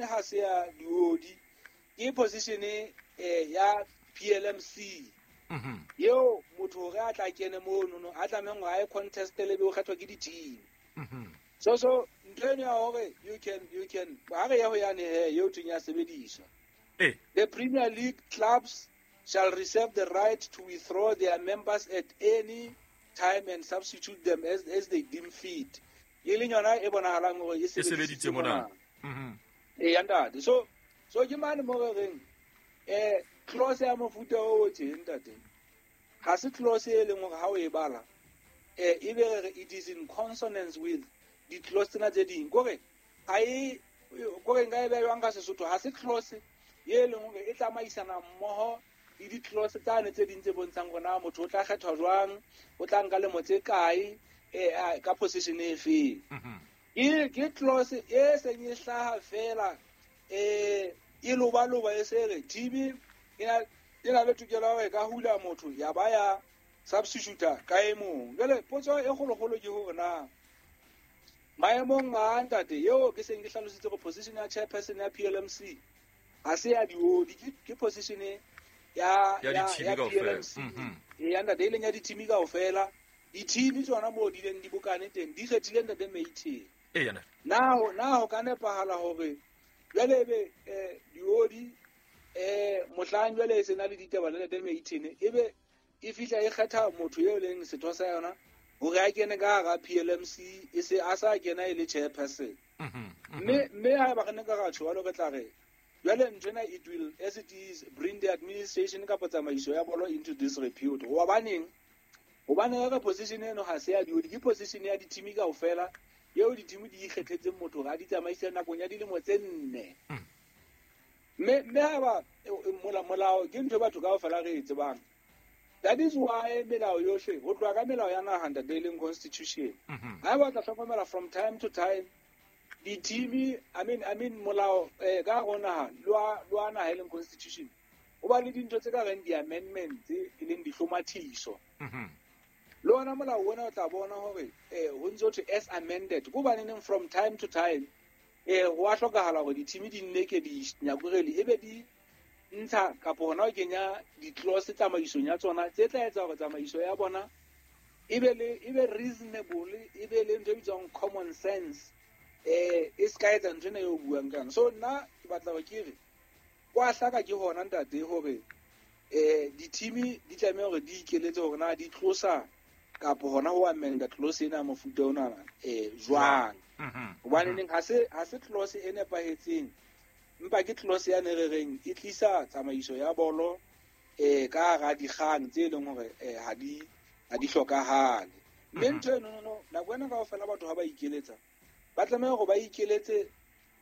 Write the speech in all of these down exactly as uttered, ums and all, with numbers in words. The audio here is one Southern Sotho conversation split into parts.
ha se ya diodi, ke position eh ya P L M C. Mhm. Eo motho hore a tla kene mono no, a tlamehang hore a e contest le be o kgethwa ke di-team. Mhm. So so ntho eno ya hore you can you can ha re ya ho yane he eo thweng ya sebediswa. Eh. The Premier League clubs shall reserve the right to withdraw their members at any time and substitute them as, as they deem fit. E leng yona e bonahalang hore e E sebeditse sebedisitse mona. mona. Mhm. E ya ntate. So so ke mane mo re reng eh clause ya mofuta o o teng ntate. Ha se clause e leng hore ha o e bala eh e be re re it is in consonance with di clause tsena tse ding. Kore ha e kore nka e beha jwang ka Sesotho, ha se clause e leng hore e tsamaisana mmoho le di clause tsane tse ding tse bontshang hore na motho o tla kgethwa jwang, o tla nka lemo tse kae, eh, a, ka position e feng. Mhm. Ke, ke clause e seng e hlaha fela, eh, e lobaloba e se re T B e na, e na le tokelo ya hore e ka hula motho ya ba ya substitute ka e mong. Jwale potso e kgolokgolo ke hore na maemong a ntate eo ke seng ke hlalositse hore position ya chairperson ya P L M C ha se ya diodi, ke, ke position ya, Ya ya, di-team ya kaofela. P L M C. Mhm. E ya ntate, e leng ya di-team kaofela. Di-team tsona moo di leng di bokane teng, di kgethile ntate Mayton. E ya ntate. Na ho, na ho ka nepahala hore jwale ebe, eh, diodi, eh, mohlang jwale e sena le ditaba le ntate Mayton, ebe e fihla e kgetha motho eo leng setho sa yona hore a kene ka hara P L M C, e se a sa kena e le chairperson. Mhm, mhm. Mme, mme haeba re ne ka ra tjho jwalo, re tla re jwale nthwena it will, as it is, bring the administration kapa tsamaiso ya bolo into disrepute. Hobaneng? Hobane re position eno ha se ya diodi, ke position ya di-team kaofela eo di-team di ikgethetseng motho hore a di tsamaise nakong ya dilemo tse nne. Mm. Mme, mme haeba, e, e, mola-, molao ke ntho e batho kaofela re e tsebang. That is why melao yohle, ho tloha ka melao ya naha ntate e leng constitution. Mhm. Haeba o tla hlokomela from time to time, di-team, I mean, I mean, molao, eh, ka hare ho naha, le wa, le wa naha e leng constitution, ho ba le dintho tse ka reng di-amendments, e leng dihlomathiso. Mhm. Le ona molao ona o tla bona hore, eh, ho ntso thwe as amended. Ke hobaneng from time to time, eh, ho a hlokahala hore di-team di nne ke di nyakurele, ebe di ntsha kapo hona ho kenya di-clause tsamaisong ya tsona tse tla etsa hore tsamaiso ya bona e be le, e be reasonable, e be le ntho e bitswang common sense, eh, e se ka etsa ntho ena eo o buang ka yona. So nna ke batla hore ke re, kwa hlaka ke hona ntate hore, eh, di-team di tlameha hore di ikeletse hore na di tlosa kapo hona ho amenda clause ena ya mofuta ona, eh, jwang. Mhm. Hobane neng ha se, ha se clause e nepahetseng, empa ke clause ya ne re reng e tlisa tsamaiso ya bolo, eh, ka hara dikgang tse leng hore, eh, ha di, ha di hlokahale. Mme Mhm. ntho eno, no, no, nako ena kaofela batho ha ba ikeletsa, ba tlameha hore ba ikeletse,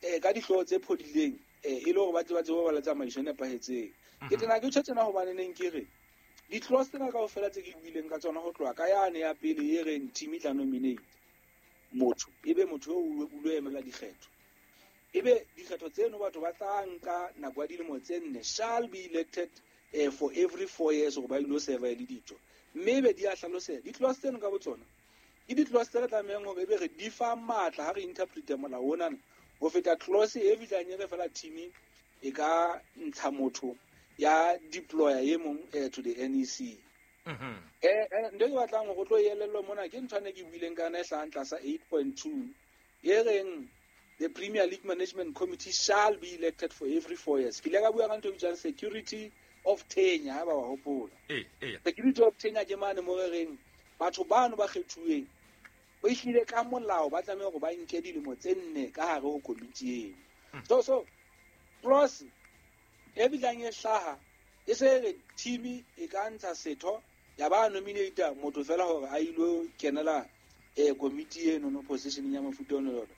eh, ka dihlooho tse phodileng, eh, e le hore ba tle ba tsebe ho ba le tsamaiso e nepahetseng. Ke Mhm. tena ke tjho tjena hobane neng ke re, di-clause tsena kaofela tse ke buileng ka tsona ho tloha ka yane ya pele e reng team e tla nominate motho, ebe motho eo o lo emela dikgetho. Ebe dikgetho tseno batho ba tla nka nako ya dilemo tse nne, shall be elected, eh, for every four years hore ba ilo serve e le ditho. Mme ebe di a hlaloseha. Di-clause tseno ka botsona ke di-clause tse re tlamehang hore ebe re di fa matla ha re interprete molao onana, ho feta clause e fihlang e re fela team e ka ntsha motho ya deployer e mong, eh, to the N E C. Mhm. Eh, eh, ntho e ke batlang hore o tlo e elellwe mona ke ntho ane ke buileng ka yona e hlahang tlasa eight point two, e reng the Premier League Management Committee shall be elected for every four years. Ke ile ka bua ka ntho e bitswang security of tenure, ha ba wa hopola. Eh, eh. Security of tenure ke mane mo re reng batho bano ba kgethuweng o ehlile ka molao ba tlameha hore ba nke dilemo tse nne ka hare ho komiti eno. Mm. So, so clause e bitlang e hlaha e se re team e ka ntsha setho ya ba nominate motho fela hore a ilo kenela, eh, komiti eno no position ya mofuta ono jwalo.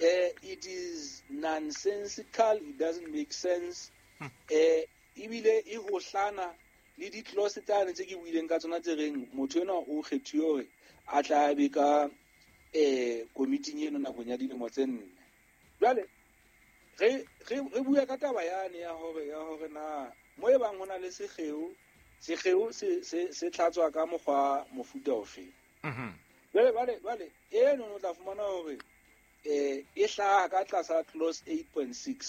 Eh, it is nonsensical, it doesn't make sense. Hmm. Eh, ebile e hohlana le di-clause tsane tse ke buileng ka tsona tse reng motho enwa o kgethuwe hore a tla be ka, eh, komiting eno nakong ya dilemo tse nne. Jwale re, re, re bua ka taba yane ya hore, ya hore na mo e bang ho na le sekgeo, sekgeo se, se, se tlhatswa ka mokgwa mofuta ofe. Mhm. Jwale, jwale, jwale, eno o tla fumana hore, eh, e hlaha ka tlasa clause eight point six.